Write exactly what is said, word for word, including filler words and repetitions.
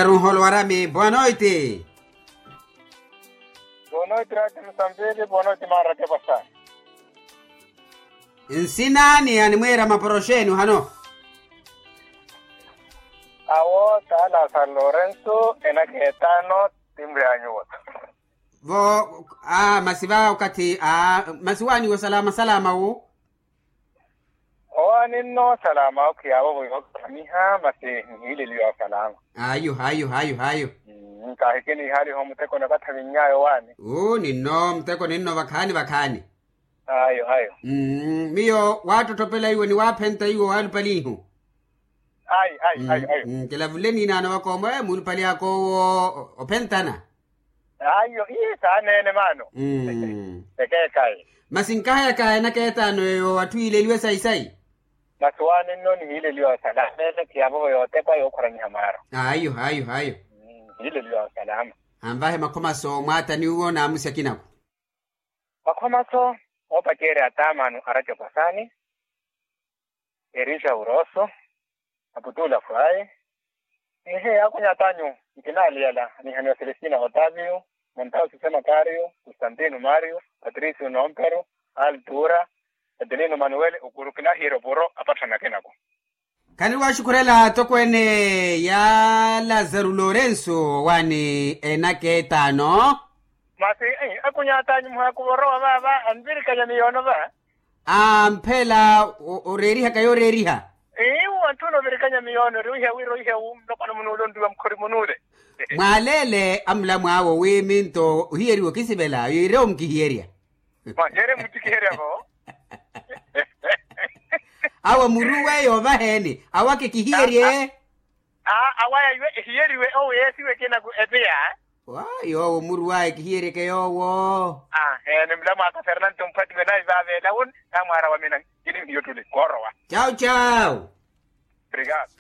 Runholo warami boa noiti. Boa noiti rati musambili boa noiti mara kepasa. Nsina ni animwira maporoxeni uhano. Awo tala san lorenso enaketano. Timbre anyuwa. Vo a masi va okathi a masi waniwo salama salama wu. Owaani nno salama okhiyaavo vo yookhamiha masi nihileliwa salama. Ayo ayo ayo ayo. Nkahikiniihaliho muteko nakathavinnyaya owaani. Uu ninno muteko ninno vakhaani vakhaani. Ayo ayo. Miyo waattottopela iwo ni waaphenta iwo waalupalihu. Ayo ayo ayo ayo. Kilavule niinaano vakoomo e muulupali akoowo ophentana. Ayo ii saaneene maano. Ekeekayi. Masi nkahayaka enaka etaano eyo atthu yiileliwe sayi sayi. Masi waani nno nihiileliwa salama ene khiyaavovo yootekwa yookhwaranyiha maaro. Ayo ayo ayo. Nihiileliwa salama. Anvahe makhomaso mwaatani uwo naamusya kinaku. Makhomaso oopacerya ataamano aracopasaani. Erija urooso. Aputula fwayi. Ehe akunyata anyu. Nkinaaliyala anihaniwa selestina otavio, montausi semakario, kustantino mario, patrisio nompero, altura, adelino manuwele okuru kinahiira opuro apatthanaka enaku. Khaniri waaxukhurela atokweene ya lazaru lorenso owaani enaka etaano. Masi akunyata anyu muhaaku vorowa vaava anvirikanya miyoono va. Amphela oreerihaka yooreeriha. Iwu antthuna ovirikanya miyoono ori ohiya wira ohiya wu nlopano munuule onriwa mukhori munuule. Mwaaleele amulamwaawo wi minto ohiyeriwa okisivela yoirewo mukihiyerya. Mwaheere muttikiherya vo. Awo muruwe yoovaheeni awake kihiyerye. Awaya iwe ehiyeriwe owo yeesiwe kinaku epiya. Yoowo muruwaye kihiyeryeke yoowo. Ni mulamwaaka fernanto mphwatiwe nayi vaavela wuni. Namwaara wamina kini hiyo tuli koorowa. Chau chau. Obrigado.